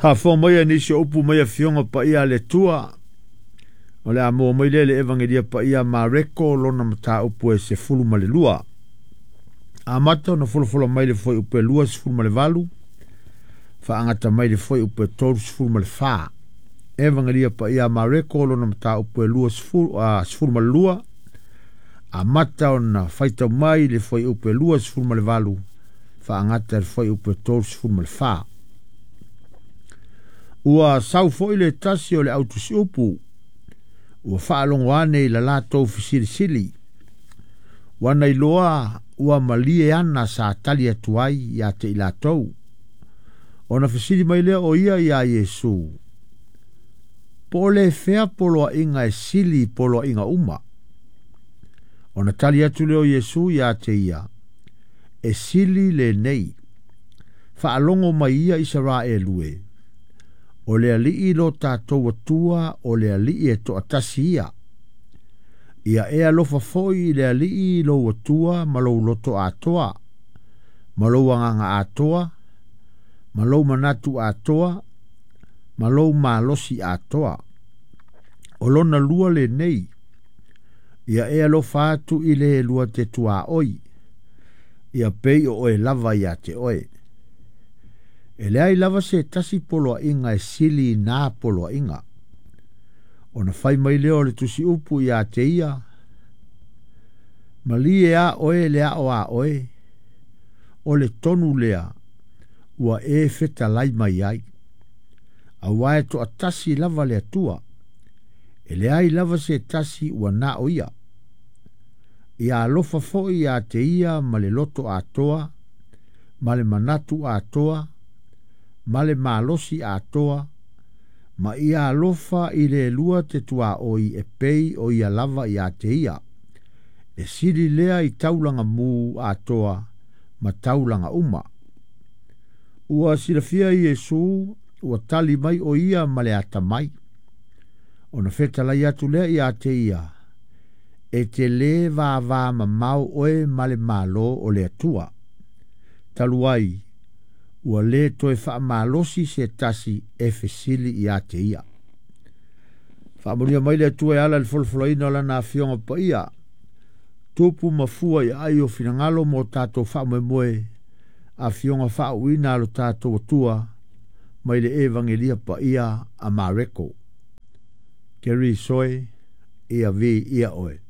Faafofoga maia nisi o upu mai Afioga Paia a le Atua. O le a maua mai lea i le Evagelia Paia a Mareko lona mataupu e 12. Amata ona folafola mai le fuaiupu e 28, faagata mai le fuaiupu e 34. Evagelia Paia a Mareko lona mataupu e 12, amata ona faitau mai le fuaiupu e 28, faagata le fuaiupu e 34. Ua sau foi le tasi o le au tusiupu, ua faalogo ane i la latou fesilisili. Ua na iloa ua malie ana sa tali atu ai ia te i latou. Ona fesili mai lea o ia iā Iesu, Po o le fea poloaiga e sili i poloaiga uma? Ona tali atu lea o Iesu ia te ia, E sili lenei. Faalogo mai ia Isaraelu e, o le Alii lo tatou Atua o le Alii e toatasi ia. Ia e alofa foi i le Alii lou Atua ma lou loto atoa, ma lou agaga atoa, ma lou manatu atoa, ma lou malosi atoa. O lona lua lenei, ia e alofa atu i le lua te tuaoi, ia pei o oe lava ia te oe. E leai lava se tasi poloaiga e sili i na poloaiga. Ona fai mai lea o le tusiupu ia te ia, Malie a oe le ao a oe, o le tonu lea ua e fetalai mai ai. Aua e toatasi lava le Atua, e leai lava se tasi ua na o ia. Ia alofa foi ia te ia ma le loto atoa, ma le manatu atoa, ma le malosi atoa, ma ia alofa i le lua te tuaoi e pei o ia lava ia te ia. E sili lea i taulaga mu atoa ma taulaga uma. Ua silafia Iesu ua tali mai o ia ma le atamai. Ona fetalai atu lea ia te ia, e te lē vāvā mamao oe ma le Malo o le Atua. Talu ai, ua lē toe faamalosi se tasi e fesili ia te ia. Faamanuia mai le Atua e ala i le folafolaina o Lana Afioga Paia, tupu ma fua i aai o finagalo mo tatou faamoemoe, Afioga faauuina a lo tatou Atua mai le Evagelia Paia a Mareko. Kerry Soe, ia viia oe.